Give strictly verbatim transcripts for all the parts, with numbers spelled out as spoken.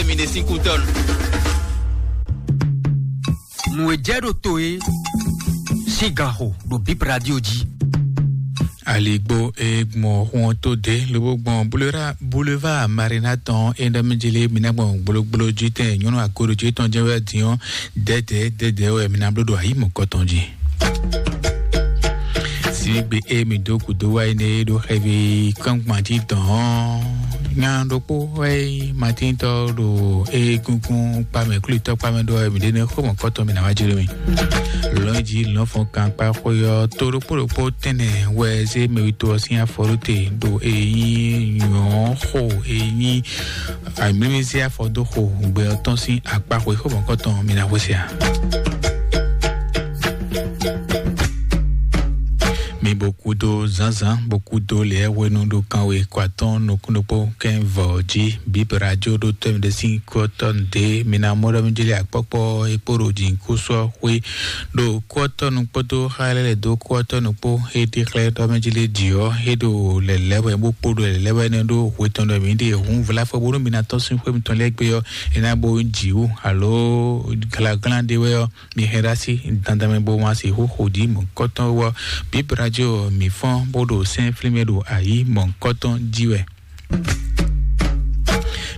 Mi ɖe sín kú tɔn. Nǔ e jɛ ɖo to é sín ganxo ɖo Bip Radio jí. Aligbo e gbɔn xun ɔ́ tó ɖě lobo gbɔn Boulevard Marina tɔn é ɖɔ mí jí lé mi ná gbɔn gblógbló jí tɛn nyɔ́nú akoɖo jí tɔn jɛ́n wɛ dín ɔ́, dɛ̌dɛ̌ dɛ̌dɛ̌ wɛ mi ná bló ɖo ayǐ mɔ̌kɔtɔn jí. Sígbe e mi dó kúdó wá yi nɛ ɖo xɛvi kɔ́nkpantí tɔn ɔ́, nya ɖokpó wɛ nyí matíntɔ́ ɖo egungun kpamɛ, klútɔ́ kpamɛ ɖɔ mi ɖe nɛ xó mɔ̌kɔtɔn mi ná wá jló mi. Lɔ̌nyijǐ lɔ̌nfɔn kan kpá xwé ɔ́, tó ɖokpó ɖokpó tɛnɛ wɛ zé mɛwítɔ́ ɔ́ sín afɔ ɖó te ɖo e nyí nyɔ̌xo e nyí amǐmízé afɔ dó xo gbɛ ɔ́ tɔn sín akpá xwé xó mɔ̌kɔtɔn mi ná xwé se ǎ. Mi bo kúdó zǎnzǎn, bo kúdó lě hwenu ɖo kanwe kɔ atɔ́ɔ́n nukún ɖokpó kɛ́n vɔ̌ jí. Bíbí radio ɖó tɔ́ mi ɖe sín kú ɔ́ tɔ́ nǔɖé. Mi ná mɔ ɖɔ mi jlé akpɔ́kpɔ́ e kpó ɖo jǐnukúnsin ɔ́ xwé ɖo kú ɔ́ tɔ́ nu kpódó xá lɛ́ lɛ̌ dó kú ɔ́ tɔ́ nu kpó. É ɖi xlɛ́ ɖɔ mɛ jlé ɖi ɔ́, é ɖo lɛ̌lɛ̌ wɛ bó kpó ɖo lɛ̌lɛ̌ wɛ nɛ́ ɖó hwe tɔn ɖɔ mǐ ɖe hǔn vlá fɔ bónú mi ná tɔ́n sín xwé mitɔn lɛ́ɛ gbé ɔ́, é ná bo nyí jǐwú alo glaglán ɖé wɛ ɔ́, mi hɛn ɖó así dandan mɛ bó ma sixú xo jí mɔ̌kɔtɔn wɔ. Bíbí radio ɔ́, mǐ fɔ́n bó ɖo sɛ́n flín mɛ ɖo ayǐ mɔ̌kɔtɔn jí wɛ.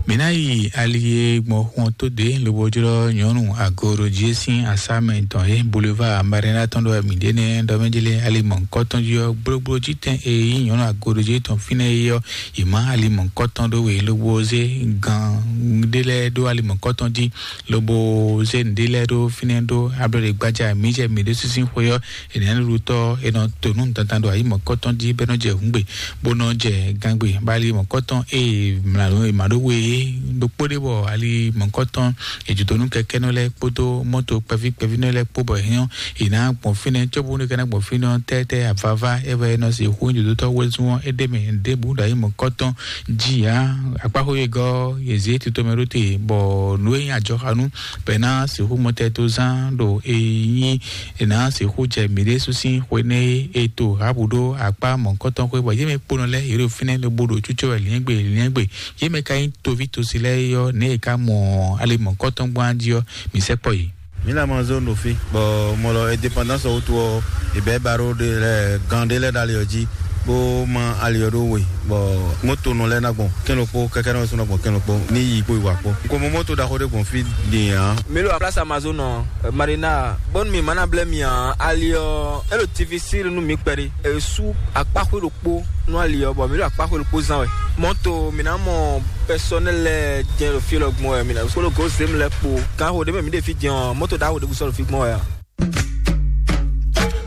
Mǐ ná yi ali e gbɔn xun ɔ́ tó ɖě lobo jlɔ́ nyɔ̌nu agoɖojí e sín asá mɛ tɔn é, Boulevard Marina tɔn ɖɔ wɛ mǐ ɖe nɛ́ ɖɔ mɛ jlé ali mɔ̌kɔtɔn jí ɔ́, gblógbló jí tɛn e nyí nyɔ̌nu agoɖojí tɔn fínɛ́ é ɔ́, yě má ali mɔ̌kɔtɔn ɖó we lobo zé gan ɖé lɛ́ɛ ɖó ali mɔ̌kɔtɔn jí, lobo zé nǔɖé lɛ́ɛ ɖó fínɛ́ ɖó ablɔɖe gbájá mǐ jɛ mǐ ɖésú sín xwe ɔ́, è nǎ ɖuɖutɔ́ è nɔ to nǔ dandan ɖo ayǐ mɔ̌kɔtɔn jí bɔ é nɔ jɛ hǔngbe, bó nɔ jɛ gangbe, bɔ ali mɔ̌kɔtɔn e mlǎ è mǎ ɖó we é ɖokpó ɖé bɔ ali mɔ̌kɔtɔn è jǒ dó nú kɛkɛ́nɔ lɛ́ɛ kpódó mɔ́to kpɛví kpɛvínɔ lɛ́ɛ kpó bɔ è hɛn ɔ́, è nǎ gbɔn fínɛ́ cóbónú é ka ná gbɔn fínɛ́ ɔ́ tɛ́tɛ́ avava é wɛ è nɔ sixú nyí dǒdótɔ́ wezun ɔ́ é ɖ'é mɛ ɖěbǔ ɖo ayǐ mɔ̌kɔtɔn jí ǎ. Akpáxwé e gɔ́ yě zě tito mɛ ɖó te, bɔ nǔ e nyí ajɔxanú bɔ è ná sixú mɔtɛtozán ɖo e nyí è nǎ sixú jɛ mǐɖée sú sín xwe nɛ́ é e to Rahabu ɖó akpá mɔ̌hunkɔtɔn xwé, bɔ yě mɛ kponɔ lɛ́ɛ yě ɖo fínɛ́ lobo ɖo cúcɔ wɛ lǐɛ́ngbè lǐɛ́ngbè. Yě mɛ ka nyí toví tosi lɛ́ɛ é ɔ́, nɛ̌ è ka mɔ ali mɔ̌hunkɔtɔn gbɔn jí ɔ́, mǐ sɛkpɔ́ yě. Mǐ lɛ mɔ zone ɖo fí, bɔ mɔ lɔ indépendance ɔ́ wútu ɔ́, è bɛ̌ baro ɖé lɛ́ɛ gan ɖé lɛ́ɛ ɖo ali ɔ́ jí, bó má ali ɔ́ ɖó we, bɔ mɔtonɔ lɛ́ɛ ná gbɔn kɛ́n ɖokpó, kɛkɛ́nɔ lɛ́ɛ sú ná gbɔn kɛ́n ɖokpó, ní yi kpó yi wǎ kpó. Un ko mɔ mɔto ɖaxó ɖé gbɔn fí din ǎ. Mi ɖo place Amazon ɔ, Marina, bónú mi ma ná blɛ́ mi ǎ, ali ɔ́, é ɖo difficile nú mi kpɛɖé. È sú akpáxwé ɖokpó nú ali ɔ́, bɔ mi ɖo akpáxwé ɖokpó zán wɛ. Mɔto, mi ná mɔ personnel lɛ́ɛ jɛ́n ɖo fí lɔ gbɔn wɛ, mi ná kpódó gǒ zěmɛ lɛ́ɛ kpó. Kanxo ɖé mɛ mi ɖe fí din ɔ́, mɔto ɖaxó ɖěbǔ sɔ́ ɖo fí gbɔn wɛ ǎ.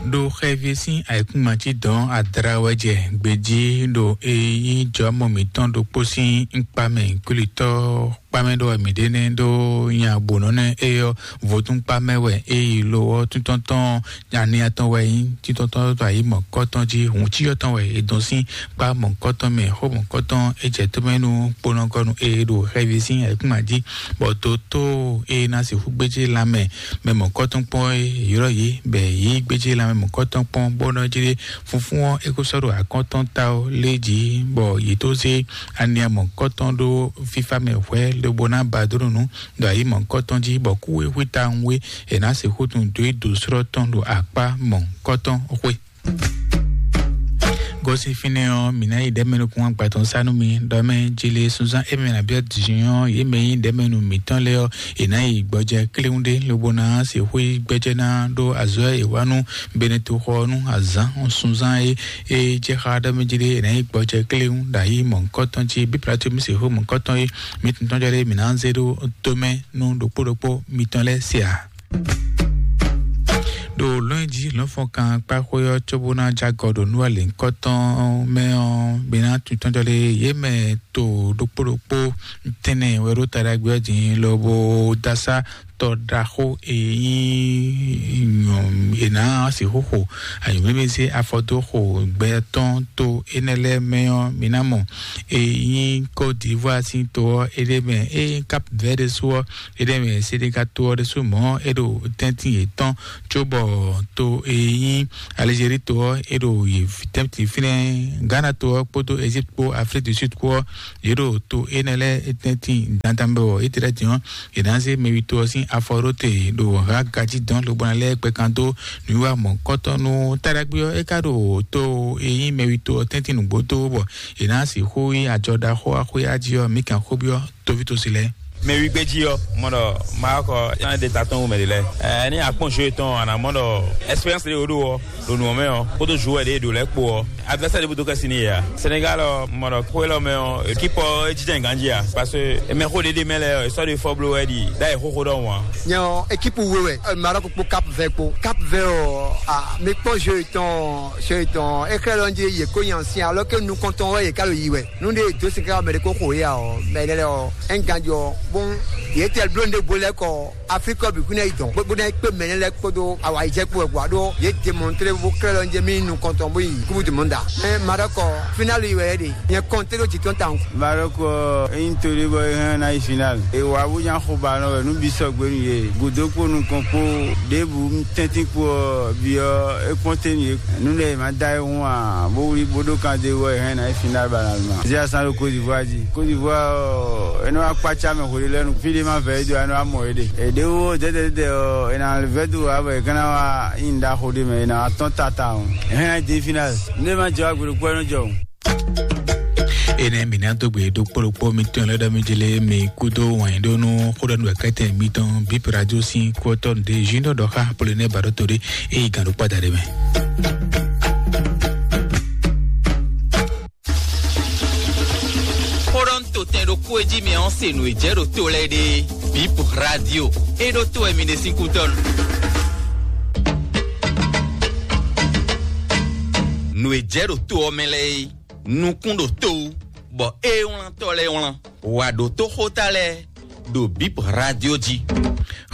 Ɖo xɛvi sín ayǐkúngban cí dɔn adra wɛ jɛ gbejí ɖo e nyí jɔmɔ mǐtɔn ɖokpó sín ŋkpa mɛ kwlítɔ́ kpá mɛ ɖɔ wɛ mǐ ɖe nɛ́ ɖó nya bǒnɔ nɛ́ é ɔ́, vodún kpá mɛ wɛ é yi lo ɔ́, títɔ́ntɔn nya ní atɔn wɛ nyí títɔ́ntɔn tó ayǐ mɔ̌kɔtɔn jí, hǔn cyɔ tɔn wɛ è dɔn sín kpá mɔ̌kɔtɔn mɛ, xó mɔ̌kɔtɔn é jɛ tó mɛ nú kponɔgɔnu e ɖo xɛvi sín ayǐkúngban jí, bɔ dótó e ná sixú gbéjé lanmɛ mɛ mɔ̌kɔtɔn kpɔ́n é ylɔ́ yě, bɔ yě gbéjé lanmɛ mɔ̌kɔtɔn kpɔ́n, bó nɔ́ jlé funfún ɔ́ é kó sɔ́ ɖo akɔ́ntɔn ta ɔ́ lé jí, bɔ yě tó zé ania mɔ̌kɔtɔn ɖó fífá mɛ hwɛ̌ lobo ná ba dó nǔ ɖo ayǐ mɔ̌kɔtɔn jí, bɔ kú e xwí tawun é è nǎ sixú tunwun dó yi dǒ slɔ́ tɔn ɖo akpá mɔ̌kɔtɔn xwé. Gosín fínɛ́ ɔ́, mǐ ná yi ɖɛ̌mɛ nukún agbatɔn sá nú mi, ɖɔ mɛ jile sunzán émɛ nabí ɔ́ din ɔ́, yě mɛ nyí ɖɛ̌mɛ nú mǐtɔn lɛ́ɛ ɔ́, è nǎ yi gbɔjɛ kléwún ɖé, lobo ná sixú yi gbɛjɛ ná ɖó azɔ̌ e è wa nú Beneto xɔ ɔ́ nú azǎn sunzán e é jɛ xá ɖɔ mɛ jile è nǎ yi gbɔjɛ kléwún ɖo ayǐ mɔ̌hunkɔtɔn jí, bí Pilato mì sixú mɔ̌hunkɔtɔn é mǐ tɔn jɔ ɖé mǐ ná zé ɖó tomɛ nú ɖokpó ɖokpó mitɔn lɛ́ɛ se ǎ. Ɖo lɔ̌nyijǐ lɔ̌nfɔnkan kpáxwé ɔ́ cóbó ná jagɔ ɖo nú alěnkɔtɔn mɛ ɔ́, mi ná tuntɔ́n jɔ lé yě mɛ to ɖokpó ɖokpó tɛnɛ wɛ ɖó ta ɖagbe ɔ́ din lobo dasá tɔ ɖaxó e nyí nyɔ̌ è nǎ sixú xo anyǔmlímlí sín afɔ dó xo gbɛ tɔn to énɛ́ lɛ́ɛ mɛ ɔ́, mi ná mɔ e nyí Côte d'Ivoire sín to ɔ́, é ɖ'é mɛ, e nyí Cap Vert ɖésú ɔ́, é ɖ'é mɛ, Sénégal to ɔ́ ɖésú mɔ̌ é ɖo tɛ́ntin yětɔn cóbɔ to e nyí Algérie to ɔ́, é ɖo yě tɛ́ntin fínɛ́. Ghana to ɔ́ kpódó Égypte kpó Afrique du Sud kpó ɔ́, yě ɖo to énɛ́ lɛ́ɛ tɛ́ntin dandan bɛ wɔ é tlɛ din ɔ́, yě ná zé mɛwi to ɔ́ sín afɔ ɖó te ɖo hǎ gají dɔn lobɔ ná lɛ́ gbɛ kan dó nǔwiwa mɔ̌kɔtɔ́ nú Táɖagbe ɔ́. É ka ɖo to e nyí mɛwi to ɔ́ tɛ́ntin nǔgbó dó bɔ yě ná sixú yí ajɔ ɖaxó axwé ají ɔ́, mǐ kan xó byɔ́ tovítɔ́sí lɛ́ɛ. Mɛ wígbé jí ɔ́, mɔ ɖɔ Maroc ɔ́, é ná ɖe ta tɔn wú mɛ ɖě lɛ́ɛ. Ɛ, ní akpɔ́n jeu tɔn, a nǎ mɔ ɖɔ expérience ɖé wǒ ɖo ɔ́, ɖo nǔ ɔ́ mɛ ɔ́, kpódó joueur ɖě e ɖo lɛ́ɛ kpó ɔ́, adversaire ɖé búdó kɛ́ sin n'i yě a? Sénégal ɔ́, mɔ ɖɔ xó élɔ́ mɛ ɔ́, équipe ɔ́ é jínjɔ́n ganjí a? Parce que mɛ xó ɖé ɖé mɛ lɛ́ɛ ɔ́, è sɔ́ ɖo fɔ bló wɛ ɖi ɖ'ayǐ xóxó ɖɔhun ǎ. Nyɛ ɔ́, équipe we wɛ, ɛ, Maroc kpó Cap Vert kpó. Cap Vert ɔ́, a, mi kpɔ́n jeu tɔn, jeu tɔn, é xlɛ́ ɖɔ jí yě ko nyi asin, alors que nukɔntɔn wɛ yě ka ɖo yi wɛ. Nú ɖé dó sin káká mɛ ɖé kó xo yé ǎ ɔ́, mɛ énɛ́ lɛ́ɛ ɔ́, é nyí ganjí ɔ́, bónú yě tɛ́ bló nǔ ɖé bó lɛ́ kɔ Afrique ɔ́ bǐ kún ná yi dɔn, bó bó ná yi kpé mɛ énɛ́ lɛ́ɛ kpódó awǎyijɛ kpó wɛ gbɔ, ɖó yě demontré bó klɛ́ ɖɔ jɛ mì nukɔntɔn bó yi Coupe du Monde ǎ. Mɛ Maroc ɔ́, finale yi wɛ é ɖe. Nyɛ kɔnté ɖó jǐ tɔn tawun. Maroc ɔ́, é nyí to ɖé bɔ é hɛn ná yi finale. È wǎ bó nya xo ba nɔ wɛ nú bǐ sɔgbe nú yě. Gǔdo kpó nukɔn kpó ɖěbǔ tɛ́ntin kpó ɔ́, bǐ ɔ́, é kpɔ́n te nú yě. Nú lɛ́ è ma da ayihún ǎ, bó wlí bó ɖó kan d'é wɛ è hɛn ná yi finale ba ná ma. Zia san ɖo Côte d'Ivoire jí. Côte d'Ivoire ɔ́, é nɔ wá kpácá mɛ hwe lɛ́ɛ nu. Fí ɖé ma vɛ é dó, é nɔ wá mɔ é ɖe. È ɖě wó dɛ́dɛ́dɛ́dɛ́ ɔ́, è nǎ vɛ́ dó ǎ bɔ è ka ná wá nyi nǔ ɖaxó ɖé mɛ, è nǎ wá tɔ́n tata ɔ́. È hɛn ná yi demi finale. Nú é ma jɛ wá gbe ɖokpó ɔ́, é nɔ jɔ. Énɛ́ mǐ ná dó gbe ɖokpó ɖokpó mitɔn lɛ́ɛ ɖɔ mì jlé mi kúdó wǎn yí ɖó nú xó ɖɔ nú wɛ̌kɛ́tɛn mitɔn Bip Radio sín kú ɔ́ tɔ́ nǔɖé Junior ɖɔ xá Polonɛ́ ba ɖó to ɖé é yi gǎn ɖó kpáda ɖé mɛ. Xó ɖɔ nú to tɛn ɖokpó e jí mi ɔ́ se nǔ e jɛ ɖo to lɛ́ɛ ɖe Bip Radio. É ɖó to wɛ mi ɖe sín kútɔ́ nu. Nǔ e jɛ ɖo to ɔ́ mɛ lɛ́ɛ é, nukún ɖo to wú, bɔ é wlán tɔ́ lɛ́ɛ wlán. Wǎ ɖótó xóta lɛ́ɛ ɖo Bip Radio jí.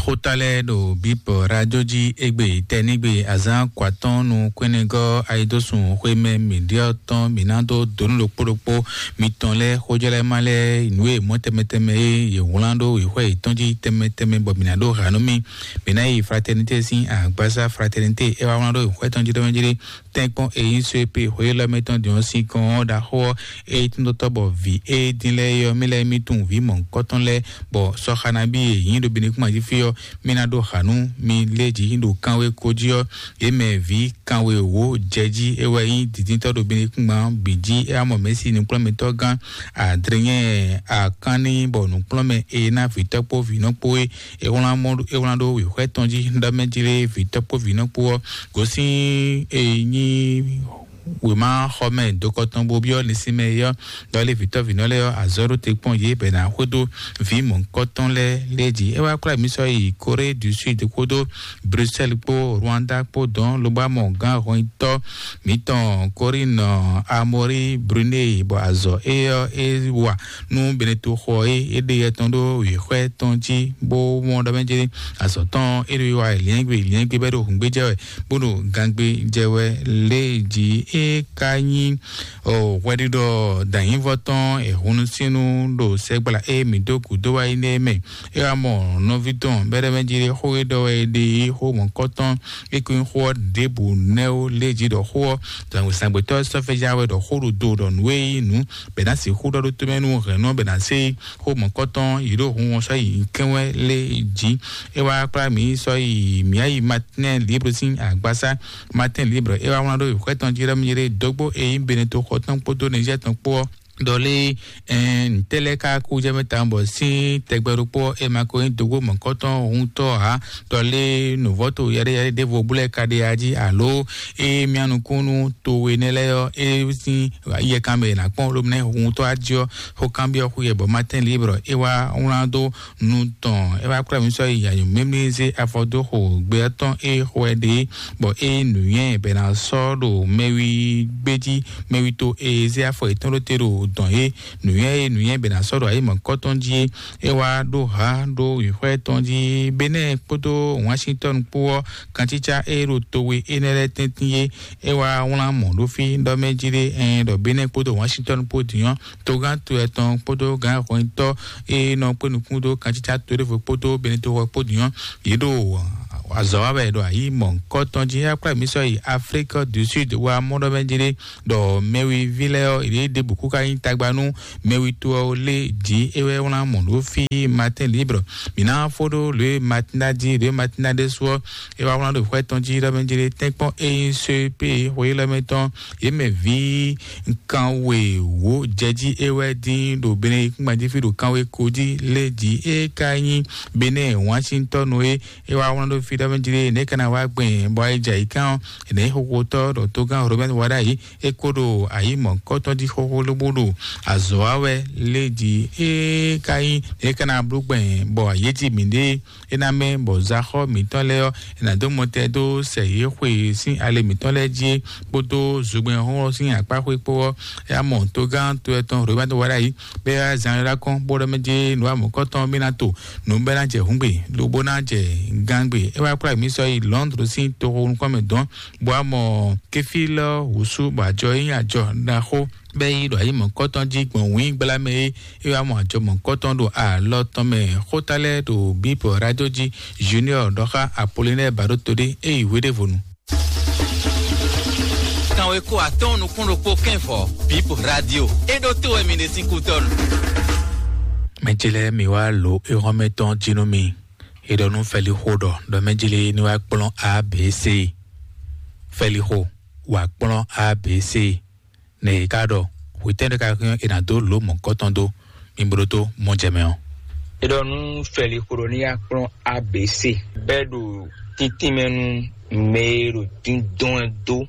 Xóta lɛ́ɛ ɖo Bip Radio jí égbé tɛ́nígbe azǎn kɔ atɔ́ɔ́n nú kwɛ́nɛgɔ́ ayidósun xwémɛ mǐɖyɔ́ tɔn mǐ ná dó dǒ nú ɖokpó ɖokpó mitɔn lɛ́ɛ xójɔ́lɛ́má lɛ́ɛ nǔ e mɔ̌ tɛnmɛ tɛnmɛ e yě wlán ɖó wěxwɛ́ yětɔn jí tɛnmɛ tɛnmɛ bɔ mǐ ná ɖó ha nú mì. Mǐ ná yi Fraternité sín agbásá Fraternité é wá wlán ɖó wěxwɛ́ tɔn jí ɖɔmɛ jí ɖé. Tɛ́nkpɔ́n e nyí só e pe xweyélɔ́ mɛ tɔn din ɔ́ sín kɔn ɔ́ ɖaxó ɔ́, é tún dó tɔ́ bɔ vǐ e dín lɛ́ɛ é ɔ́, mì lɛ́ɛ mì tunwun vǐ mɔ̌hunkɔtɔn lɛ́ɛ, bɔ sɔ́xanábí e nyí ɖo Benekúnma jí fí ɔ́, mì ná ɖó hǎ nú mi lé jí ɖo kanwé ko jí ɔ́, yě mɛ vǐ kanwe wǒ jɛ jí é wɛ nyí dǐndíntɔ́ ɖo Benekúnma bǐ jí. É wá mɔ Mɛ̌si nǔkplɔ́nmɛtɔ́ gán Adriɛn Akánní, bɔ nǔkplɔ́nmɛ e ná vǐtɔ́ kpó vǐnɔ kpó é, é wlán mɔ é wlán ɖó wěxwɛ́ tɔn jí ɖɔ mɛ jí lé vǐtɔ́ kpó vǐnɔ kpó ɔ́ gosín e nyí wěma xɔ mɛ dokɔ tɔn bó byɔ́ linsin mɛ é ɔ́, ɖɔ lé vǐtɔ́ vǐnɔ lɛ́ɛ ɔ́, azɔ̌ ɖó te kpɔ́n yě bɔ è nǎ xwedó vǐ mɔ̌hunkɔtɔn lɛ́ɛ lɛ́ɛ jí. É wá kplá mǐ sɔ́ yi Corée du Sud kpódó Bruxelles kpó Rwanda kpó dɔn lobo wá mɔ gǎn hɔnyitɔ́ mǐtɔn Corinne Amori Brunei, bɔ azɔ̌ é ɔ́ é wa nú Beneto xɔ é é ɖe yɛ tɔn ɖó wěxwɛ́ tɔn jí bó mɔ ɖɔ mɛ jɛ́n azɔ̌ tɔn é ɖo yi wa liɛ́ngbé liɛ́ngbé bɔ é ɖo hǔngbé jɛ wɛ bó ɖo gangbé jɛ wɛ lé jí. É ka nyí hwɛɖiɖɔ dǎnyívɔ tɔn e hunnusínu ɖo sɛgbla e mǐ dó gǔdo wá yi nɛ́ mɛ. É wá mɔ nɔví tɔn bɛ́ɖɛ́mɛ jí ɖé xó e ɖɔ wɛ é ɖe é xó mɔ̌kɔtɔn é ko nyí xó ɔ́ ɖěbǔ nɛ́ ó lé jí ɖɔ xó ɔ́ zǎngbetɔ́ sɔ́fɛ́já wɛ ɖɔ xó ɖo do ɖɔ nǔ e nyí nǔ bɛ ná sixú ɖɔ ɖó tomɛ nú hɛ̌nnɔ bɛ ná sé xó mɔ̌kɔtɔn yě ɖo hun ɔ́ sɔ́ yi kɛ́n wɛ lé jí. É wá kplá mǐ sɔ́ yi mǐ yi Matinɛ Libre sín agbasá. Matinɛ Libre é wá wlán ɖó xwɛ tɔn jí ɖɔ mì jí ɖé dógbó e nyí Beneto xɔ tɔn kpódó Nizɛ́ɛ tɔn kpó ɔ́ ɖɔ lé ntɛ́ lɛ́ɛ ka kú jɛ mɛ tawun bɔ sín tɛgbɛ ɖokpó ɔ́, è ma ko nyí dógbó mɔ̌kɔtɔn huntɔ́ ǎ. Ɖɔ lé nǔvɔ́to yɛɖéyɛɖé ɖěvo bú lɛ́ɛ ka ɖe ya jí alo é mía nukúnnú towe nɛ́ lɛ́ɛ ɔ́, é sín yɛkan mɛ è nǎ kpɔ́n lómɛ huntɔ́ á jí ɔ́, xó kanbyɔ́ xú yɛ bɔ Matin Libre é wá wlán dó nu tɔn é wá kplá mǐ sɔ́ yi anyǔ mímí zé afɔ dó xo gbé ɔ́ tɔn é xo wɛ ɖe, bɔ é nǔnywɛ́ bɛ ná sɔ́ ɖo mɛwi gbé jí, mɛwi to e zé afɔ yětɔn ɖó te ɖo dɔn é nǔnywɛ́ é nǔnywɛ́ bɛ ná sɔ́ ɖo ayǐ mɔ̌kɔtɔn jí é. É wá ɖó ha ɖó wǐxwɛ tɔn jí Benɛ́ɛ kpódó Washington kpó ɔ́, kancícá e ɖo towe énɛ́ lɛ́ɛ tɛ́ntin é. É wá wlán mɔ̌ ɖó fí ɖɔ mɛ jí ɖé ɛn ɖɔ Benɛ́ɛ kpódó Washington kpó din ɔ́, togán to etɔn kpódó gǎn hwɛntɔ́ e nɔ kpé nukún dó kancícá to ɖěvo kpódó Benɛ́ɛ toxɔ kpó din ɔ́, yě ɖo Azɔ̌ wa wɛ ɖo ayǐ mɔ̌hunkɔtɔn jí. Akpla mǐ sɔ́ yi Afrique du Sud wá mɔ ɖɔ mɛ jí ɖé ɖɔ mɛwi ví lɛ́ɛ ɔ́, yě ɖěbǔ kú ka nyí tagba nú mɛwi to ɔ́ lé jí é wɛ wlán mɔ̌ ɖó fí Matin Libre. Mǐ ná fó ɖó lě Matin ná jí, lě Matin ná ɖésú ɔ́, é wá wlán ɖo xwɛ tɔn jí ɖɔ mɛ jí ɖé tɛ́nkpɔ́n é nyí C P xwe lɛ́ mɛ tɔn, yě mɛ ví kanwe wǒ jɛ jí é wɛ dín ɖo Benɛ́ yíkúngban jí fí ɖo kanwe ko jí lé jí é ka nyí Benɛ́ Washington é. É wá wlán ɖó fí ɖɔ mɛ jí ɖé nɛ̌ ka ná wá gbɛn bɔ ayǐ jɛ ayǐ kán ɔ́, nɛ̌ xóxótɔ́ ɖɔ tógán Robert Wada yìí é kó ɖo ayǐ mɔ̌hunkɔtɔn jí xóxó lóbó ɖo azɔ̌ wa wɛ lé jí é ka nyí nɛ̌ ka ná bló gbɛn bɔ ayǐ jí mǐɖée é ná mɛ bɔ zaxɔ mǐtɔn lɛ́ɛ ɔ́, è nǎ dó mɔtɛn dó sɛ yě xwe sín ali mǐtɔn lɛ́ɛ jí é, kpódó zogbɛ́n xɔ́nxɔ́n sín akpá xwé kpó ɔ́, é wá mɔ togán to ɛtɔn Robert Wada yìí bɔ é wá zan ɖó kɔn bó ɖɔ mɛ jí nǔ amɔ̌kɔtɔn mì ná to nǔ bɔ é ná jɛ hǔngbe lobo ná jɛ gangbe. É wá kplá mǐ sɔ́ yi Londres sín toxo nukɔn mɛ dɔn bó wá mɔ kéfí lɔ wǔsú bɔ ajɔ é nyí ajɔ ɖaxó bɔ é yi ɖo ayǐ mɔ̌kɔtɔn jí gbɔn wǐngbla mɛ é. É wá mɔ ajɔ mɔ̌kɔtɔn ɖo alɔ tɔn mɛ. Xóta lɛ́ɛ ɖo Bíbɔ Radio jí. Junior ɖɔ xá Apollinaire Baɖó Toɖé é yi hweɖévonu. Kanwe ko atɔ́ɔ́n nukún ɖokpó kɛ́nvɔ Bíbɔ Radio é ɖó tó wɛ mi ɖe sín kútɔ́nu. Mɛ ce lɛ́ɛ mi wá lǒ éhɔ́nmɛ tɔn jí nú mi. É ɖɔ nú Fɛlixo ɖɔ ɖɔ mɛ ce lɛ́ɛ ní wá kplɔ́n A B C. Fɛlixo wá kplɔ́n A B C. Nɛ yě ká ɖɔ hwetɛ́ ɖé ka hɛn è nǎ dó lǒ mɔ̌kɔtɔn dó. Mi bló dó mɔ jɛ mɛ ɔ́. É ɖɔ nú Fɛlixo ɖɔ ní yá kplɔ́n A B C bɛ́ ɖo títínmɛ nú mɛ e ɖo díndɔn ɛ dó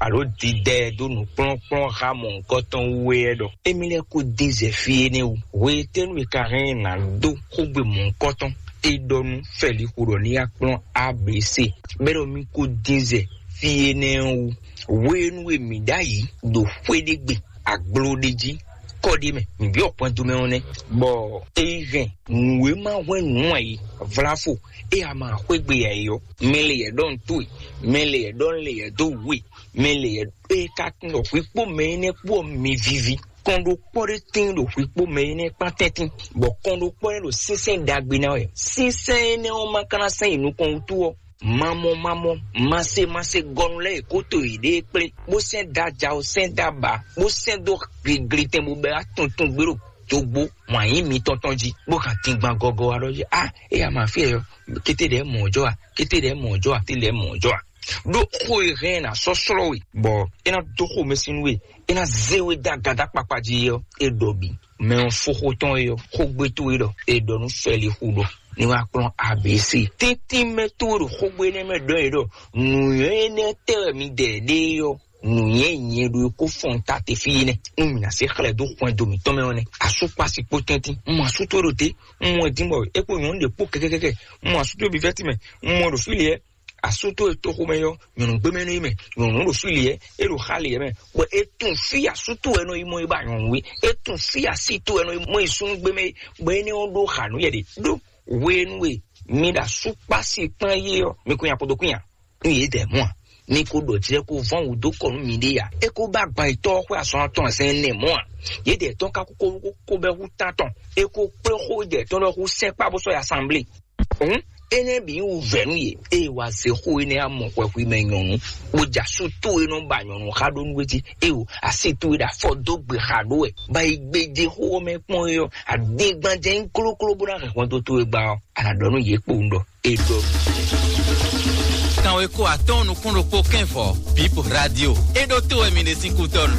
alo didɛ ɛ dó nǔkplɔ́nkplɔ́n xá mɔ̌hunkɔtɔn wú é ɖɔ émí lɛ́ɛ kó dín zɛ fí énɛ́ wú. Hwetɛ́nu e ka hɛn ná dó xógbe mɔ̌hunkɔtɔn? É ɖɔ nú Fɛlixo ɖɔ ní yá kplɔ́n A B C bɛ́ ɖɔ mí kó dín zɛ fí énɛ́ ɔ́ wú. Hwenu e mǐ ɖ'ayǐ ɖo xwé ɖé gbe, agbló ɖé jí, kɔ ɖé mɛ, mǐ byɔ́ hwɛndo mɛ ɔ́ nɛ́, bɔ é yi hɛn nǔ e ma hwɛ́n nǔ ǎ é, vláfo, é a ma xwé gbe ǎ é ɔ́, mɛ lě yɛ ɖɔ nǔ towe, mɛ lě yɛ ɖɔ lě yɛ dó wǔ e, mɛ lě yɛ é ka tunwun ɖɔ hwi kpó mɛ énɛ́ kpó ɔ́ mi vivi. Kɔn ɖokpɔ́ ɖé tíin ɖo hwi kpó mɛ énɛ́ kpán tɛ́ntin, bɔ kɔn ɖokpɔ́ ɖé ɖo sínsɛ́n ɖagbe ná wɛ. Sínsɛ́n énɛ́ ɔ́ ma ka ná sɛ́n yi nukɔn wútu ɔ́, mamɔ mamɔ, mase mase gɔnu lɛ́ɛ e kó to yěɖée kplé, bó sɛ́n dó ajawo, sɛ́n dó aba, bó sɛ́n dó gliglitɛn bó bɛ́ wá tuntun gbé ɖo dogbo wǎn yí mitɔn tɔn jí, bó hɛn dingban gɔgɔ wá ɖɔ jí, a é ya ma fí ɛ ɔ́, kété ɖɛ̌ mɔ̌ jɔ a, kété ɖɛ̌ mɔ̌ jɔ a, kété ɖɛ̌ mɔ̌ jɔ a. Ɖó xó e hɛn ná sɔ́ slɔ́ we, bɔ é ná dó xomɛ sín nú we, é ná zé we dó agadá kpakpa jí ɔ́, é ɖɔ bǐ. Mɛ ɔ́ fó xó tɔn é ɔ́, xógbé towe ɖɔ è ɖɔ nú Fɛlixu ɖɔ ní wá kplɔ́n A B C. Tɛ́ntin mɛ towe ɖo xógbé énɛ́ mɛ ɖɔ é ɖɔ nǔnywɛ́ énɛ́ tɛ wɛ mi ɖɛ ɖe é ɔ́, nǔnywɛ́ nyɛ ɖo é kó fɔn ta te fí énɛ́. Un mǐ ná se xlɛ́ dó xwɛndo mǐtɔn mɛ ɔ́ nɛ́. Asúkpasi kpó tɛ́ntin. Un mɔ asú towe ɖo te. Un mɔ ɛ dín bɔ é kpó nyɔ̌nu ɖě kpó kɛkɛkɛkɛ. Un mɔ asú towe bǐ vɛ́ tɛ́nmɛ. Un mɔ ɛ ɖo fí lě ɛ. Asú towe toxo mɛ yɔ, nyɔ̌nu gbé mɛ nɔ yi mɛ, nyɔ̌nu ɖo fí lě ɛ, é ɖo xá lě ɛ mɛ. Bɔ é tún fí asú towe nɔ yi mɔ yi ba nyɔ̌nu é, é tún fí así towe nɔ yi mɔ yi súnnu gbé mɛ é, bɔ énɛ́ ɔ́ ɖó xa nú yɛ ɖe. Ɖó hwenu e mi ɖo asúkpasi kpán yé ɔ́, mi kún nya kpodo kún nya. Nú yě dɛ mɔ̌ a? Mi ko ɖɔ jlɛ́ ko vɔ́n wǔ dó kɔ nú miɖée a? É ko ba gban yětɔn ɔ́ xwé azɔn atɔn zɛn nɛ mɔ̌ a? Yě dɛ tɔn ka kó kó bɛ́ hú tántɔn, é ko kplé xó dɛ tɔn lɔ hú sɛkpá bó sɔ́ yi asanblée. Hǔn énɛ́ bǐ wú vɛ̌ nú yě, ée wá zé xó énɛ́ amɔ xwɛxwi mɛ nyɔ̌nu, bó ja sú tó e nɔ ba nyɔ̌nu xá ɖó nú wé jí, ée o así tó e ɖo afɔ dó gbe xa ɖó wɛ, ba yi gbéjé xó ɔ́ mɛ kpɔ́n é ɔ́, adégbán jɛ nyí klókló bó ná hɛn hwɛndo towe gba ɔ́, a nǎ ɖɔ nú yě kpowun ɖɔ é ɖɔ. Kanwe ko atɔ́ɔ́n nukún ɖokpó kɛ́nvɔ Bíbl Radio. É ɖó tó wɛ mi ɖe sín kútɔ́nu.